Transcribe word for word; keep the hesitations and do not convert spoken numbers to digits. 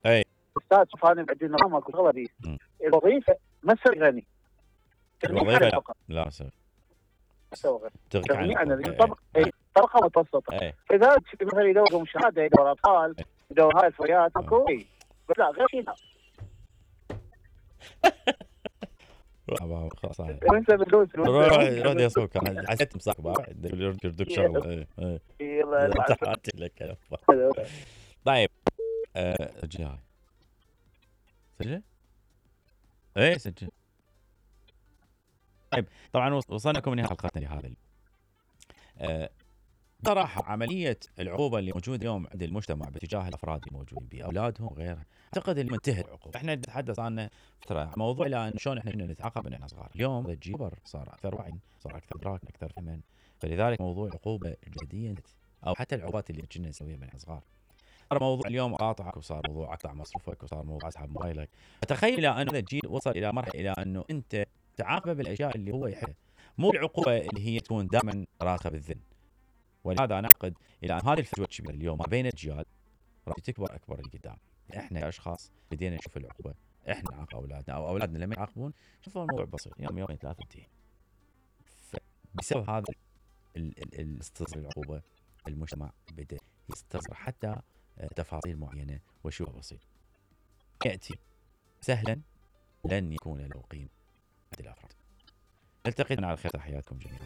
اي استاذ شوف انا عندي نظام اكو شغله دي الوظيفه ما تسوي غني الوظيفه لا لا اسوي تسوي تغنيك عن غني انا الحقوق. طبق طبقه متوسطه اي لذلك مثلا يدوروا شهاده يدور اطفال يدور هاي الفريات اكو بس لا غير شيء لا خلاص وانت بتدوس روح روح يصوك حسيت مساك بعد يردك شغله. اي يلا لك. طيب سجل هاي سجل ايه سجل. طيب طبعا وصلنا لكم نهايه حلقتنا لهذا أه صراحه عمليه العقوبه اللي موجوده اليوم عند المجتمع باتجاه الافراد الموجودين به اولادهم وغيرها اعتقد اللي منتهي العقوبه. احنا نتحدث عن فتره موضوع الان شلون احنا كنا نتعاقب من احنا صغار. اليوم الجيل كبر صار اكثر وعي صار اكثر ادراك اكثر فهما فلذلك موضوع العقوبه الجديه او حتى العقوبات اللي كنا نسويها من احنا صغار صار موضوع اليوم قاطعك وصار موضوع اقطع مصروفك وصار موضوع اسحب موبايلك. فتخيل الى ان الجيل وصل الى مرحله الى انه انت تعاقبه بالاشياء اللي هو يحبها مو العقوبه اللي هي تكون دائما راسخه بالذهن. ولهذا انا اعتقد الى ان هذه الفجوه الكبيره اليوم ما بين الاجيال راح تكبر اكبر لقدام. احنا كاشخاص بدينا نشوف العقوبه احنا نعاقب اولادنا او اولادنا لما يعاقبون شوفوا الموضوع بسيط يوم يومين ثلاثه انتهي. فبسبب هذا الاستصغار العقوبه المجتمع بدا يستصغر حتى تفاصيل معينه وشيء بسيط ياتي سهلا لن يكون له قيمه عند الافراد. نلتقي على خير. تحياتكم جميعا.